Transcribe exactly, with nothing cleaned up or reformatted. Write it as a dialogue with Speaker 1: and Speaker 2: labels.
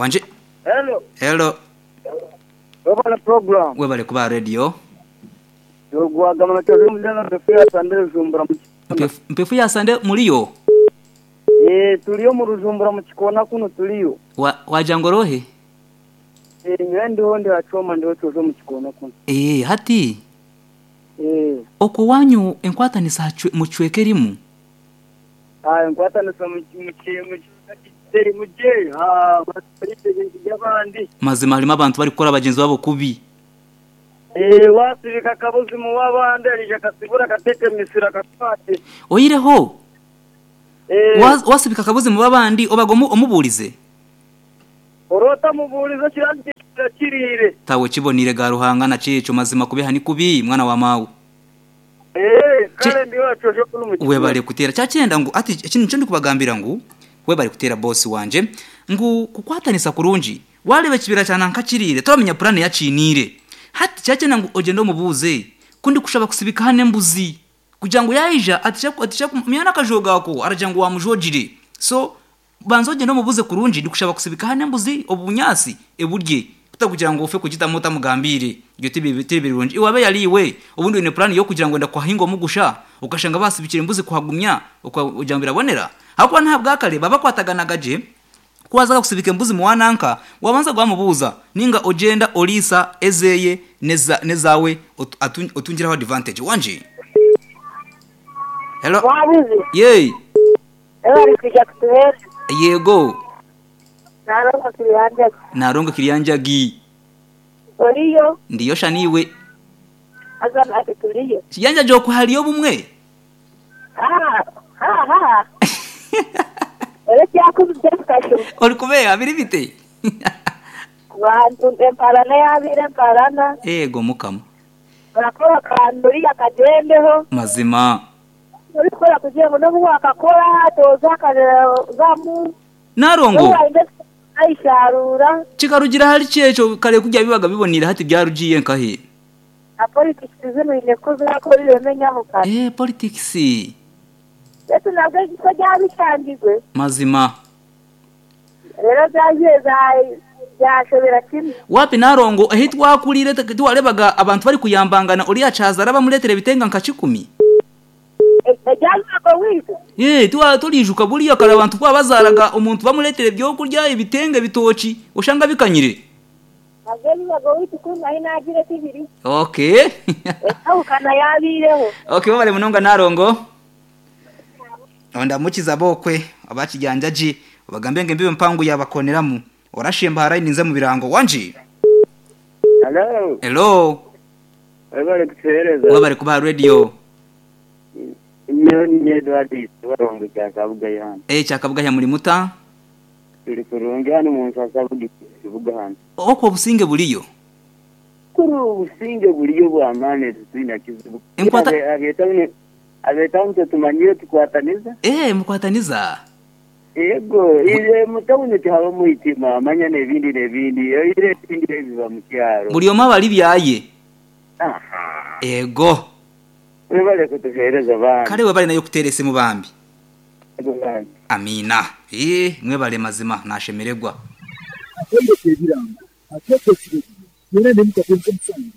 Speaker 1: Wanje.
Speaker 2: Hello.
Speaker 1: Hello.
Speaker 2: Webale program.
Speaker 1: Webale kuba radio.
Speaker 2: Yogwagamana kyo mudana mpefu sande Rujumbura mu
Speaker 1: Mpefu- Mpefu ya sande muliyo.
Speaker 2: Eh tuliyo mu Rujumbura mu kikona kuno tuliyo.
Speaker 1: Wa wajangorohe?
Speaker 2: Eh nyewe ndiho ndi hachoma ndiho tuzo mu kikona kuno.
Speaker 1: Eh hati
Speaker 2: Eh
Speaker 1: okwo wanyu enkwatanisa hachwe- muchweke erimu.
Speaker 2: ah nkwatanisa mu mu mu kiteri muje ha basirite by'abandi.
Speaker 1: Mazima harimo abantu bari gukora bagenzi babo kubi.
Speaker 2: Eh wasibika kabuzi mu wabandi arije kasibura katete misira kakwate.
Speaker 1: Oyireho
Speaker 2: Eh
Speaker 1: was- wasibika akabuzi mu babandi obaga omu- omubuurize.
Speaker 2: orota muburizo kiranje kirire.
Speaker 1: Tawe kibonire ga ruhanga na cico mazima kubiha ni kubi mwana wa mawe.
Speaker 2: Eh kale ndiho hacoje kuno mu kikona.
Speaker 1: Webale kutera cyacyenda ngo ati ikintu cyo ndikubagambira ngo webale kutera boss wanje ngo kukwatanisa kurungi warebe kibira cyane nkakirire turamenya plan yacinire hati cyacyenda ngo ogenda omubuze kundi kushaba kusibika hane mbuzi kugira ngo yaija atisha atisha myana kajogako aragira ngo wamujogire so banza ogenda omubuze kurungi ndikushaba kusibika hane mbuzi obunyasi eburye kutakugira ngo ufe kugita utamugambire ibyo tibi tibi birungi iwabe yariwe ubundi une plan yo kugira ngo ndakwahinga mugusha ukashanga basibikira imbuzi kuhagumya ukagira ngo birabonera hakuba nta bwakare baba kwataganagaje kuwazaga kusibika embuzi mu wananka wabanza gwamubuza ninga ogenda olisa ezeye neza nezawe otu- atu- otungiraho advantage wanje. Hello.
Speaker 3: Wabuze
Speaker 1: Yey.
Speaker 3: bari kujya kutuhera
Speaker 1: Yego.
Speaker 3: narongo kiriyanjaga
Speaker 1: Narongo kiryanjagi
Speaker 3: oriyo
Speaker 1: ndiyo shaniwe
Speaker 3: azana ati turiyo
Speaker 1: kiyanja jo kuhaliyo bumwe.
Speaker 3: ha ha ha ere cyakuze kasho
Speaker 1: Ori kubera biri bite?
Speaker 3: bantu emparana yabire emparana
Speaker 1: Ego mukama.
Speaker 3: barakora kanduri akagendeho
Speaker 1: Mazima.
Speaker 3: urikora kugira ngo no wakakora toza akazamu
Speaker 1: Narongo
Speaker 3: ayisharura
Speaker 1: kikarugira hari cyeco kare kujya bibaga bibonira hati byarugiye nkahe.
Speaker 3: Na politics zino ine ko zakora imenyaho kare
Speaker 1: Eh politics
Speaker 3: ndetse nabwo ko byabishangirwe
Speaker 1: mazima.
Speaker 3: rero byagiye byashobera kimwe.
Speaker 1: Wapi narongo ahi twakurire twarebaga abantu bari kuyambangana uriya cazara bamuletere bitenga nka kikumi.
Speaker 3: Ejyanago wize
Speaker 1: Eh tuwa tulijuka buriya kare abantu twabazaraga umuntu bamuletere byo kurya ibitenge bitoki ushanga bikanyire.
Speaker 3: nabwo bibaga wize ukuntu aho inagire tibiri
Speaker 1: Okay.
Speaker 3: awukana yabireho.
Speaker 1: Okay babale munonga narongo. Onda mukiza bokwe abakijyanjaji bagambe nge mbibe mpangu yabakoneramu orashemba harayi ninze mu birango wanje.
Speaker 2: Hello.
Speaker 1: Hello.
Speaker 2: Webale kutuhereza.
Speaker 1: Webale kuba radio.
Speaker 2: Nyo ni Edward warongo cyakabuga yana.
Speaker 1: Eh cyakabuga ya muri muta.
Speaker 2: Turi kurungi hano mu nsasabuga kibuga hano.
Speaker 1: Okwo businge buliyo.
Speaker 2: Kuri ubusinge buliyo bwamane tutwina kizibu.
Speaker 1: Enkwata-
Speaker 2: Abetawune abetawune tumanyire tukwataniza.
Speaker 1: Eh mukwataniza.
Speaker 2: Yego ile mutawune tihaba muhitima amanya n'ebindi n'ebindi ile ebindi biba mu kyaro.
Speaker 1: Buli omu abali byaye.
Speaker 2: Aha.
Speaker 1: Ego.
Speaker 2: Webale kutuhereza bana.
Speaker 1: Kale webale nayo kuterese mu bambi.
Speaker 2: Yego bana.
Speaker 1: Amina. Eh mwebale mazima nashemeregwa.
Speaker 4: Atendeke ebirango ateekesire yera ne mukatenze omusango.